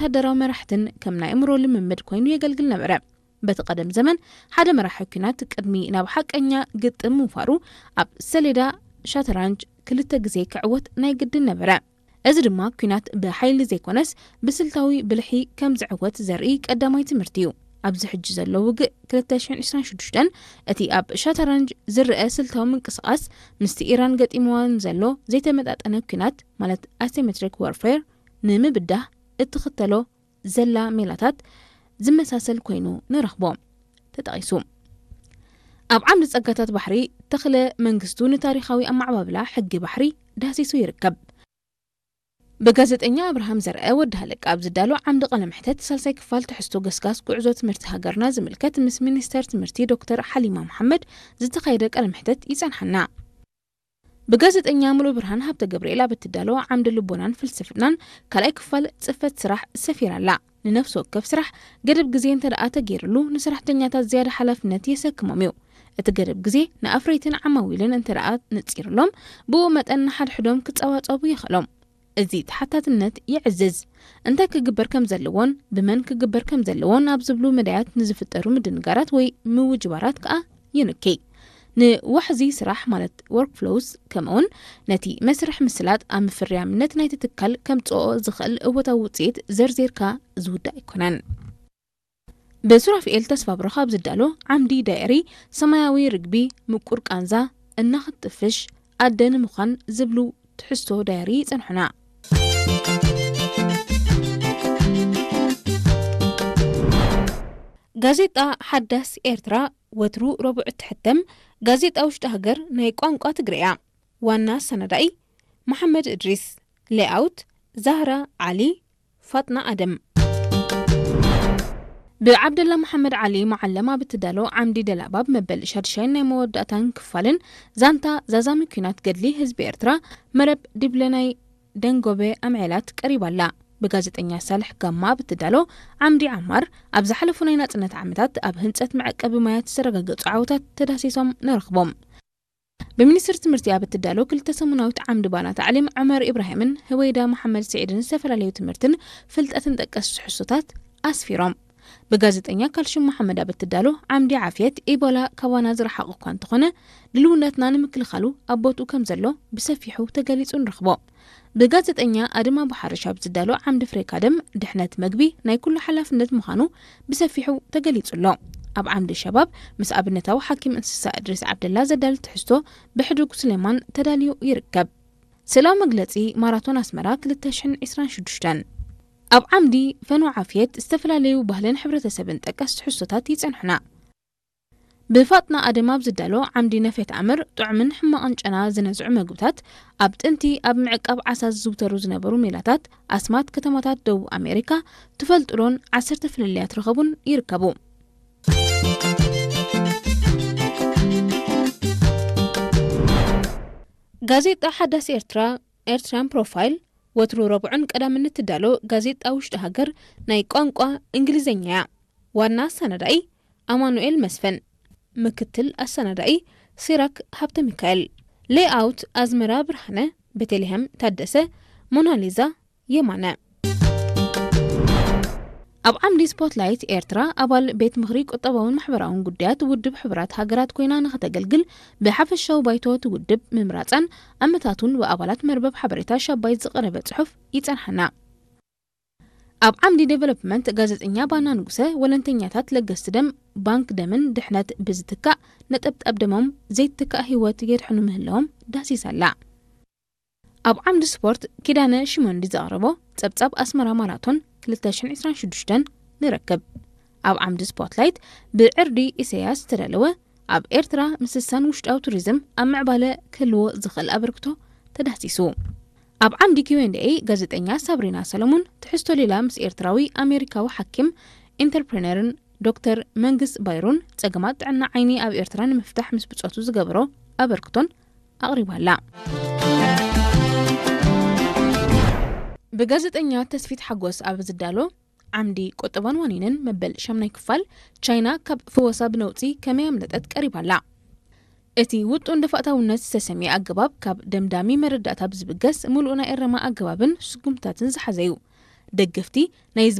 ወተሃደራዊ መራሕትን ከም ናይ ኣእምሮ ልምምድ ኮይኑ የገልግል ነበረ። በቲ ቀደም ዘመን ሓደ መራሒ ኲናት ቅድሚ ናብ ሓቀኛ ግጥም ምውፋሩ ኣብ ሰሌዳ ሻተራንጅ ክልተ ግዜ ክዕወት ናይ ግድን ነበረ። እዚ ድማ ኲናት ብሓይሊ ዘይኮነስ ብስልታዊ ብልሒ ከም ዝዕወት ዘርኢ ቀዳማይ ትምህርቲ እዩ። ኣብዚ ሕጂ ዘሎ ውግእ ክልተ ሽሕን ዕስራን ሽዱሽተን እቲ ኣብ ሻተራንጅ ዝረአ ስልታዊ ምንቅስቓስ ምስቲ ኢራን ገጢምዋን ዘሎ ዘይተመጣጠነ ኲናት ማለት ኣሲሜትሪክ ዋርፌር ንምብዳህ እትኽተሎ ዘላ ሜላታት ዝመሳሰል ኮይኑ ንረኽቦ። ተጠቒሱ። ኣብ ዓምዲ ጸጋታት ባሕሪ ተኽለ መንግስቱ ንታሪኻዊ ኣመዓባብላ ሕጊ ባሕሪ ዳህሲሱ ይርከብ። ብጋዜጠኛ ኣብርሃም ዘርአ ወዲ ሃለቃ ኣብ ዝዳሎ ዓምዲ ቃለ መሕተት ሳልሳይ ክፋል ትሕዝቶ ገስጋስ ጉዕዞ ትምህርቲ ሃገርና ዝምልከት ምስ ሚኒስተር ትምህርቲ ዶክተር ሓሊማ መሓመድ ዝተኻየደ ቃለ መሕተት ይጸንሓና። ብጋዜጠኛ ሙሉ ብርሃን ሃብተ ገብርኤል ኣብ እትዳሎ ዓምዲ ልቦናን ፍልስፍናን ካልኣይ ክፋል ጽፈት ስራሕ ሰፊራ ኣላ። ንነፍሲ ወከፍ ስራሕ ገደብ ግዜ እንተ ደኣ ተገይርሉ ንሰራሕተኛታት ዝያዳ ሓላፍነት የሰክሞም እዩ። እቲ ገደብ ግዜ ንኣፍረይትን ዓማዊልን እንተ ደኣ ንጺርሎም ብኡ መጠን ንሓድሕዶም ክጸባጸቡ የኽእሎም። እዚ ተሓታትነት የዕዝዝ። እንታይ ክግበር ከም ዘለዎን ብመን ክግበር ከም ዘለዎን ኣብ ዝብሉ መዳያት ንዝፍጠሩ ምድንጋራት ወይ ምውጅባራት ከኣ ይንኪ። ንዋሕዚ ስራሕ ማለት ወርክፍሎውስ ከምኡውን ነቲ መስርሕ ምስላጥ ኣብ ምፍርያምነት ናይቲ ትካል ከምጽኦ ዝኽእል እወታዊ ውጽኢት ዘርዚርካ ዝውዳእ ኣይኮነን። ብሱራፍኤል ተስፋ ብሩኽ ኣብ ዝዳሎ ዓምዲ ዳየሪ ሰማያዊ ርግቢ ምቁር ቃንዛ እናኽትጥፍሽ ኣደ ንምዃን ዝብሉ ትሕዝቶ ዳየሪ ይጸንሑና። ጋዜጣ ሓዳስ ኤርትራ ወትሩ ረቡዕ እትሕተም ጋዜጣ ውሽጢ ሃገር ናይ ቋንቋ ትግርያ። ዋና ኣሰናዳኢ መሓመድ እድሪስ። ሌኣውት ዛህራ ዓሊ፣ ፋጥና ኣደም። ብዓብደላ መሓመድ ዓሊ መዓለም ኣብ እትዳሎ ዓምዲ ደላባብ መበል ሻድሻይን ናይ መወዳእታን ክፋልን ዛንታ ዛዛሚ ኲናት ገድሊ ህዝቢ ኤርትራ መረብ ዲብለናይ ደንጎበ ኣምዔላት ቀሪባ ኣላ። ብጋዜጠኛ ሳልሕ ጋማ ኣብ እትዳሎ ዓምዲ ዓማር ኣብ ዝሓለፉ ናይ ናጽነት ዓመታት ኣብ ህንጸት መዕቀቢ ማያት ዝተረጋገጹ ዓወታት ተዳሲሶም ንረኽቦም። ብሚኒስትሪ ትምህርቲ ኣብ እትዳሎ ክልተ ሰሙናዊት ዓምዲ ባና ታዕሊም ዑመር ኢብራሂምን ህወይዳ መሓመድ ስዒድን ዝተፈላለዩ ትምህርትን ፍልጠትን ጠቀስ ትሕዝቶታት ኣስፊሮም። ብጋዜጠኛ ካልሹም መሓመድ ኣብ እትዳሎ ዓምዲ ዓፍየት ኢቦላ ካባና ዝረሓቐ እኳ እንተኾነ ድልውነትና ንምክልኻሉ ኣብ ቦትኡ ከም ዘሎ ብሰፊሑ ተገሊጹ ንረኽቦ። ብጋዜጠኛ ኣድማ ባሓርሽ ኣብ ዝዳሎ ዓምዲ ፍሬካ ደም ድሕነት መግቢ ናይ ኩሉ ሓላፍነት ምዃኑ ብሰፊሑ ተገሊጹ ኣሎ። ኣብ ዓምዲ ሸባብ ምስ ኣብነታዊ ሓኪም እንስሳ እድሪስ ዓብደላ ዘዳል ትሕዝቶ ብሕዱግ ሱሌማን ተዳልዩ ይርከብ። ስእላዊ መግለጺ ማራቶን ኣስመራ ክልተ ሽሕን ዕስራን ሽዱሽተን። ኣብ ዓምዲ ፈኖ ዓፍየት ዝተፈላለዩ ባህልን ሕብረተሰብን ጠቀስ ትሕዝቶታት ይጸንሑና። ብፋጥና ኣደም ኣብ ዝዳሎ ዓምዲ ነፌት ኣምር ጥዑምን ሕማቕን ጨና ዝነዝዑ መግብታት ኣብ ጥንቲ ኣብ ምዕቃብ ዓሳ ዝዝውተሩ ዝነበሩ ሜላታት ኣስማት ከተማታት ደቡብ ኣሜሪካ ትፈልጥሎን ዓሰርተ ፍልልያት ረኸቡን ይርከቡ። ጋዜጣ ሓዳስ ኤርትራ ኤርትራን ፕሮፋይል ወትሩ ረቡዕን ቀዳምን እትዳሎ ጋዜጣ ውሽጢ ሃገር ናይ ቋንቋ እንግሊዝኛ እያ። ዋና ኣሰናዳኢ ኣማኑኤል መስፍን፣ ምክትል ኣሰናዳኢ ሲራክ ሃብተ ሚካኤል፣ ሌኣውት ኣዝመራ ብርሃነ፣ ቤተልሔም ታደሰ፣ ሞናሊዛ የማነ። ኣብ ዓምዲ ስፖትላይት ኤርትራ ኣባል ቤት ምኽሪ ቁጠባውን ማሕበራውን ጉዳያት ውድብ ሕቡራት ሃገራት ኮይና ንኸተገልግል ብሓፈሻዊ ባይቶ እቲ ውድብ ምምራጻን ኣመታቱን ብኣባላት መርበብ ሓበሬታ ሻባይት ዝቐረበ ጽሑፍ ይጸንሓና። ኣብ ዓምዲ ዴቨሎፕመንት ጋዜጠኛ ባና ንጉሰ ወለንተኛታት ለገስቲ ደም ባንክ ደምን ድሕነት ብዝትካእ ነጠብጣብ ደሞም ዘይትካእ ህይወት የድሕኑ ምህላዎም ዳሲሳ ኣላ። ኣብ ዓምዲ ስፖርት ኪዳነ ሽመንዲ ዘቕረቦ ጸብጻብ ኣስመራ ማራቶን ክልተ ሽሕን ዕስራን ሽዱሽተን ንረክብ። ኣብ ዓምዲ ስፖትላይት ብዕርዲ ኢሳያስ ዝተዳለወ ኣብ ኤርትራ ምስሳን ውሽጣዊ ቱሪዝም ኣብ ምዕባለ ክህልዎ ዝኽእል ኣበርክቶ ተዳህሲሱ። ኣብ ዓምዲ ኪው ኤንድ ኤ ጋዜጠኛ ሳብሪና ሰለሙን ትሕዝቶ ሌላ ምስ ኤርትራዊ ኣሜሪካዊ ሓኪም ኢንተርፕረነርን ዶክተር መንግስ ባይሩን ጸገማት ጥዕና ዓይኒ ኣብ ኤርትራ ንምፍታሕ ምስ ብጾቱ ዝገበሮ ኣበርክቶን ኣቕሪባላ። ብጋዜጠኛ ተስፊት ሓጎስ ኣብ ዝዳሎ ዓምዲ ቁጠባን ዋኒንን መበል ሻምናይ ክፋል ቻይና ካብ ፍወሳ ብነውጺ ከመይ ኣምለጠት ቀሪባላ። እቲ ውጡን ደፋእታውነት ዝተሰምየ ኣገባብ ካብ ደምዳሚ መረዳእታ ብዝብገስ ምሉእ ናይ እረማ ኣገባብን ስጉምትታትን ዝሓዘ እዩ። ደገፍቲ ናይ